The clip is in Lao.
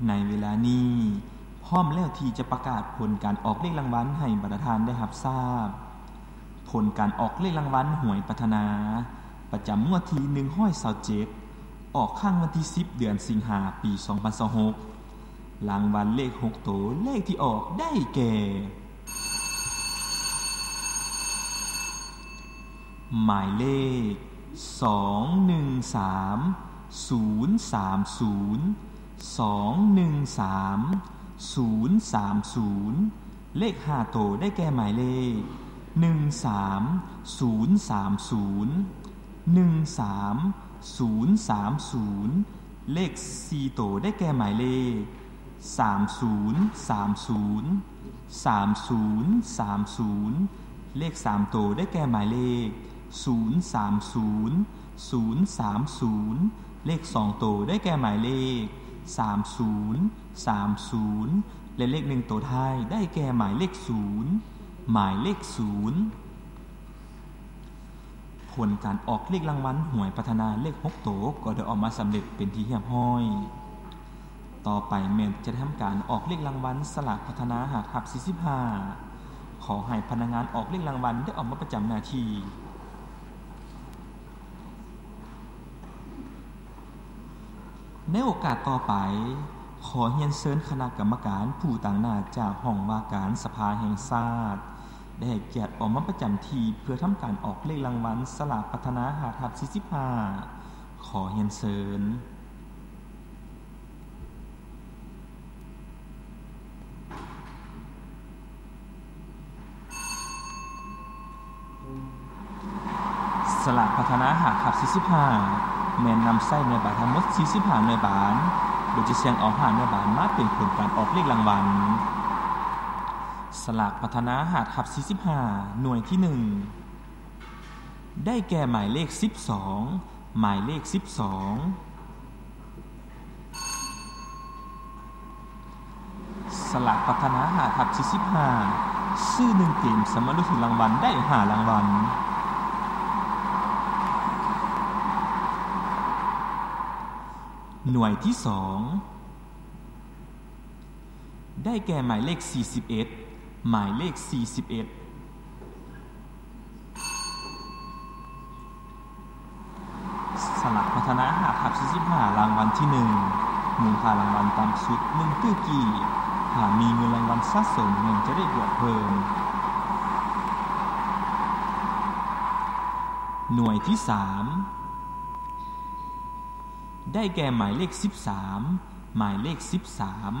ໃນເວລານີ້ ພ້ອມແລ້ວທີ່ຈະປະກາດຜົນການອອກເລກລາງວັນໃຫ້ບັນດາທ່ານໄດ້ຮັບຊາບ. ຜົນການອອກເລກລາງວັນຫວຍພັດທະນາ ປະຈຳງວດທີໜຶ່ງຮ້ອຍຊາວເຈັດ ອອກຄັ້ງວັນທີສິບ ເດືອນສິງຫາ ປີສອງພັນຊາວຫົກ. ລາງວັນເລກຫົກໂຕ ເລກທີ່ອອກໄດ້ແກ່ ໝາຍເລກ ສອງໜຶ່ງສາມ ສູນສາມສູນ ສອງໜຶ່ງສາມ ສູນສາມສູນ. ເລກຫ້າໂຕໄດ້ແກ່ໝາຍເລກ ໜຶ່ງສາມ ສູນສາມສູນ ໜຶ່ງສາມ ສູນສາມສູນ. ເລກສີ່ໂຕໄດ້ແກ່ໝາຍເລກ ສາມສູນສາມສູນ ສາມສູນສາມສູນ. ເລກສາມໂຕໄດ້ແກ່ໝາຍເລກ ສູນສາມສູນ ສູນສາມສູນ. ເລກສອງໂຕໄດ້ແກ່ໝາຍເລກ ສາມສູນສາມສູນ ແລະ ເລກໜຶ່ງໂຕທ້າຍໄດ້ແກ່ໝາຍເລກສູນ ໝາຍເລກສູນ. ຜົນການອອກເລກລາງວັນຫວຍພັດທະນາເລກຫົກໂຕກໍໄດ້ອອກມາສຳເລັດເປັນທີ່ຮຽບຮ້ອຍ. ຕໍ່ໄປແມ່ນຈະທຳການອອກເລກລາງວັນສະຫຼາກພັດທະນາ ຮະ ທັບ ສີ່ສິບຫ້າ. ຂໍໃຫ້ພະນັກງານອອກເລກລາງວັນໄດ້ອອກມາປະຈຳໜ້າທີ່. ໃນໂອກາດຕໍ່ໄປ, ຂໍຮຽນເຊີນຄະນະກຳມະການຜູ້ຕາງໜ້າຈາກຫ້ອງວ່າການສະພາແຫ່ງຊາດ ໄດ້ໃຫ້ກຽດອອກມາປະຈຳທີ່ເພື່ອທຳການອອກເລກລາງວັນສະຫຼາກພັດທະນາ ຮະ ທັບ ສີ່ສິບຫ້າ. ຂໍຮຽນເຊີນ. ສະຫຼາກພັດທະນາ ຫ້າ ທັບ ສີ່ສິບຫ້າ ແມ່ນນຳໃຊ້ໜ່ວຍບານທັງໝົດ ສີ່ສິບຫ້າ ໜ່ວຍບານ, ໂດຍຈະສ່ຽງເອົາ ຫ້າ ໜ່ວຍບານມາເປັນຜົນການອອກເລກລາງວັນ. ສະຫຼາກພັດທະນາ ຫ້າ ທັບ ສີ່ສິບຫ້າ ໜ່ວຍທີໜຶ່ງ ໄດ້ແກ່ໝາຍເລກ ສິບສອງ ໝາຍເລກ ສິບສອງ. ສະຫຼາກພັດທະນາ ຫ້າ ທັບ ສີ່ສິບຫ້າ ຊື້ໜຶ່ງເກມ ສາມາດລຸ້ນຖືກລາງວັນໄດ້ ຫ້າ ລາງວັນ. ໜ່ວຍທີສອງ ໄດ້ແກ່ໝາຍເລກ ສີ່ສິບເອັດ ໝາຍເລກ ສີ່ສິບເອັດ. ສະຫຼາກພັດທະນາ ຫ້າ ທັບ ສີ່ສິບຫ້າ ລາງວັນທີໜຶ່ງ ມູນຄ່າລາງວັນຕ່ຳສຸດ ໜຶ່ງຕື້ກີບ. ຖ້າມີເງິນລາງວັນສະສົມ ແມ່ນຈະໄດ້ບວກເພີ່ມ. ໜ່ວຍທີສາມ ໄດ້ແກ່ໝາຍເລກ ສິບສາມ ໝາຍເລກ ສິບສາມ.